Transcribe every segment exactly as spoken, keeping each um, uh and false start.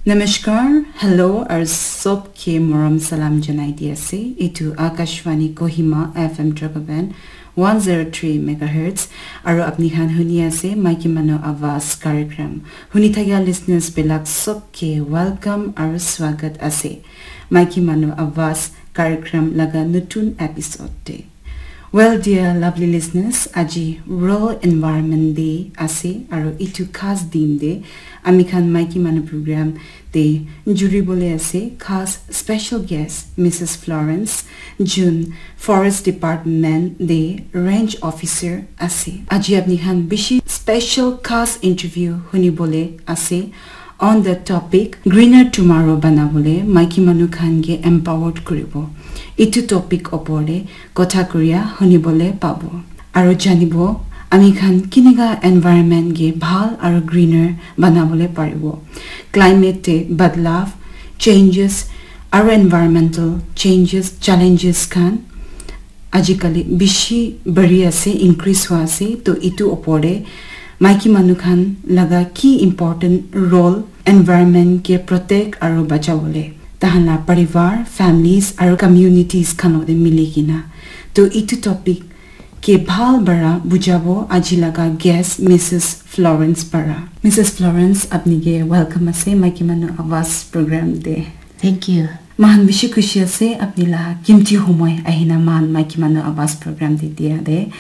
Namaskar, hello, aru sob ke morom salam janai di ase. Etu Akashvani Kohima F M Dragoban one zero three megahertz, aru apni khan huni ase Maiki Manu Awaz Karikram. Huni thakia listeners bilak sob ke welcome aru swagat ase Maiki Manu Awaz Karikram laga nutun episode te. Well, dear lovely listeners, aji World Environment Day ase, aru itu khas din te ami khan Maiki Manu program te juri bole ase, khas special guest Missus Florence, jun Forest Department te Range Officer ase. Aji apni khan bishi special khas interview huni bole ase on the topic Greener Tomorrow bana bole maiki manu khan ke empowered kuribo. Itu topic opor te kotha kuria huni bole pabo. Aru janibo ami khan kineka environment ke bhal aru greener bana bole paribo. Climate te badlav, changes, aru environmental changes, challenges khan ajikali bishi bari ase, increase hua ase. To itu opor te maiki manu khan laga ki important role environment ke protect aru bacha bole, tahan la parivar, families aru communities khan lote mili kena. To itu topic ke bhal bara bujabo aji laga guest Missus Florence para. Missus Florence, apni ke welcome ase Maiki Manu Awaz program te. Thank you. Mahan bishi khushi ase apni la kimti humoi ahina mahan Maiki Manu Awaz program te dia de.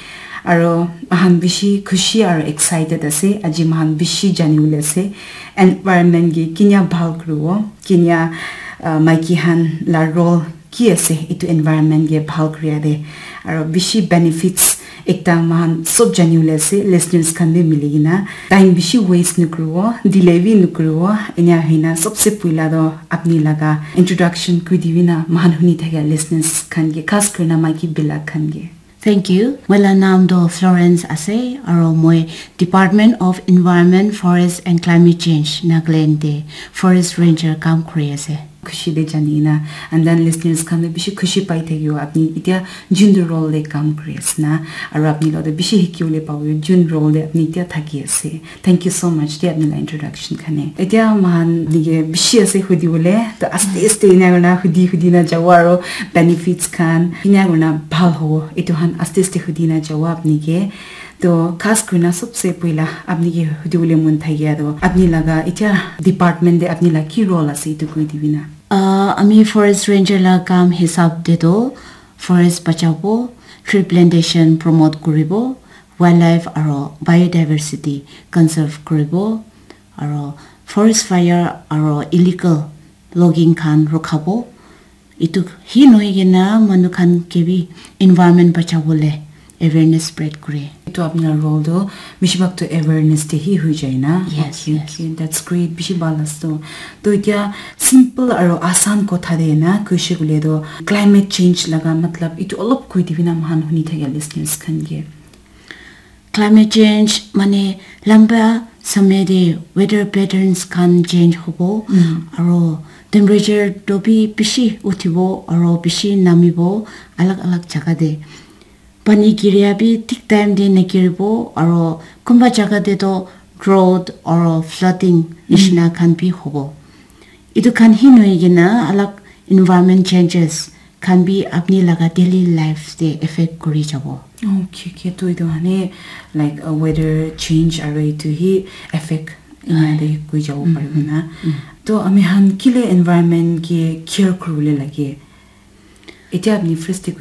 Aro mahan bishi khushi aro excited ase. Aji mahan bishi jani bole ase environment ke kinya bhal kuribo, kinya, uh, maiki han la role ki ase itu environment ke bhal kuria de. Aro bishi benefits ekta mahan sob jani bole ase, listeners khan bi mili kena. Time bishi waste nukuribo, delay bi nukuribo. Enya hoina sobse puila to apni laga introduction kuri dibi na, mahan huni thakia listeners khan ke, khas kurina maiki bilak khan ke. Thank you. Moi la naam to Florence ase, aro moi Department of Environment, Forest and Climate Change, Nagaland te Forest Ranger kam kuri ase. Khushi de jani na, and then listeners khan bi bishi khushi pai thakibo apni itia jun role de kam kuri ase na, aro apni logot bishi hiki bole pabo jun role de apni itia thaki ase. Thank you so much de apni la introduction khan. Itia mahan nige bishi ase hudi bole, to aste aste ina kurina hudi hudi na jabo aro benefits khan ina kurina bhal hobo. Itu khan aste aste hudi na jabo apni ke. To khas kurina sobse puila apni ke hudi bole mon thakia to apni laga itia department de apni la ki role ase itu koi dibi na. Ah, ami forest ranger la kam hisab de to forest bachabo, tree plantation promote kuribo, wildlife aro biodiversity conserve kuribo, aro forest fire aro illegal logging khan rokhabo. Itu hi nohoi kena manu khan ke bi environment bachabole awareness spread kure. Itu apni la role to bishi bhag to awareness te hi hui jai na. Yes, okay, yes. Okay, that's great. Bishi bhal ase to. To itia simple aro asan kotha de na kuishe kule to climate change laga matlab itu olop koi dibi na mahan huni thakia listeners khan ke. Climate change mane lamba samay de weather patterns khan change hobo, mm, aro temperature to bi bishi uthibo aro bishi namibo alag alag jaga de. Pani giria bi thik time de nagiribo aro kunba jaga de to drought aro flooding, mm, nishina khan bi hobo. Itu khan hi nohoi kena alag environment changes khan bi apni laga daily life te effect kuri jabo. Okay, okay, to itu hane, like, uh, weather change aro itu hi effect ina de koi jabo paribo na. Mm. To ami khan kile environment ke care kuribole lage? Itia apni first te